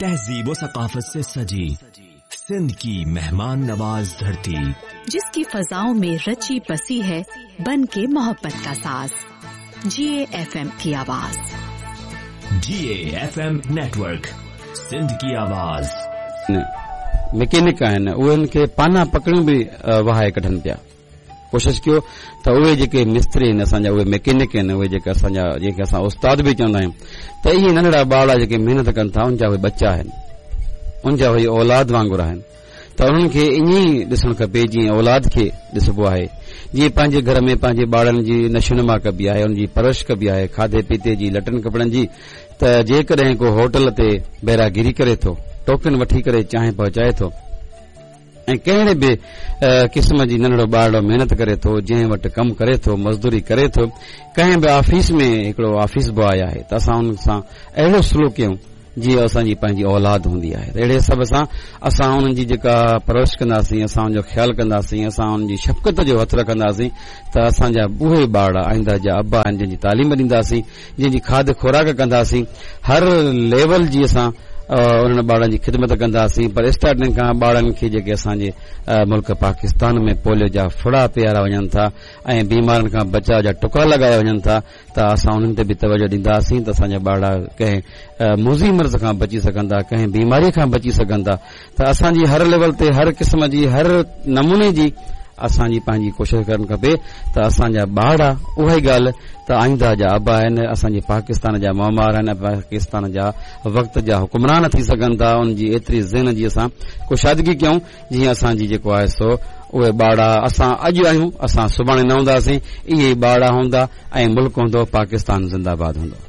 तहजीब व सकाफत से सजी सिंध की मेहमान नवाज धरती, जिसकी फजाओं में रची बसी है बन के मोहब्बत का साज, GAFM की आवाज। GAFM network, Sindh की आवाज। मैकेनिक आहिनि उन्हनि खे पाना पकड़ियूं बि वहाए कढनि पिया। कोशिश कयो त उहे जेके मिस्त्री आहिनि असांजा, उहे मैकेनिक आहिनि, उहे जेके असांजा, जंहिंखे असां उस्ताद बि चवंदा आहियूं, त इहे नंढड़ा ॿार जेके महिनत कनि था उनजा उहे बच्चा आहिनि, उनजा उहे औलाद वांगुरु आहिनि। त उन्हनि खे ईअं ई ॾिसणु खपे जीअं औलाद खे ॾिसबो आहे, जीअं पंहिंजे घर में पंहिंजे ॿारनि जी नशोनुमा कबी आहे, उनजी परवरिश कबी आहे, खाधे पीते जी, लटनि कपिड़नि जी। त जेकॾहिं को होटल ते बैरागिरी करे थो, टोकन वठी करे चांहि पहुचाए थो, ऐं कहिड़े बि क़िस्म जी नंढड़ो ॿारड़ो महिनत करे थो, जंहिं वटि कमु करे थो, मज़दूरी करे थो, कंहिं बि ऑफिस में हिकिड़ो ऑफिस बॉय आहे, त असां उन सां अहिड़ो सुलूक कयूं जीअं असांजी पंहिंजी औलाद हूंदी आहे। अहिड़े हिसाब सां असां उन्हनि जी जेका परवरिश कंदासीं, असां उनजो ख़्यालु कंदासीं, असां उन्हनि जी शफ़क़त जो हथु रखंदासीं, त असांजा उहे ॿार आईंदा जा अबा आहिनि जंहिंजी तालीम ॾींदासीं, जंहिंजी खाध खुराक कंदासीं, हर लेवल जी असां उन्हनि ॿारनि जी ख़िदमत कंदासीं। पर स्टार्टिंग खां ॿारनि खे जेके असांजे मुल्क पाकिस्तान में पोलियो जा फुड़ा पीआरा वञनि था ऐं बीमारनि खां बचाव जा टुका लॻाया वञनि था, त असां उन्हनि ते बि तवजो ॾींदासीं त असांजा ॿारड़ा कंहिं मूज़ी मर्ज़ खां बची सघंदा, कंहिं बीमारीअ खां बची सघंदा। त असांजी हर लेवल ते हर क़िस्म जी हर नमूने जी असांजी पंहिंजी कोशिश करणु खपे त असांजा ॿारड़ा, उहा ई ॻाल्हि त आईंदा जा अबा आहिनि, असांजे पाकिस्तान जा मामार आहिनि, पाकिस्तान जा वक़्त जा हुकुमरान थी सघनि था। उनजी एतिरी ज़हन जी असां कुशादगी कयूं जीअं असांजी जेको आहे सो उहे ॿारड़ा असां अॼु आहियूं, असां सुभाणे न हूंदासीं, इहे ॿारड़ा हूंदा ऐं मुल्क हूंदो, पाकिस्तान ज़िंदाबाद हूंदो।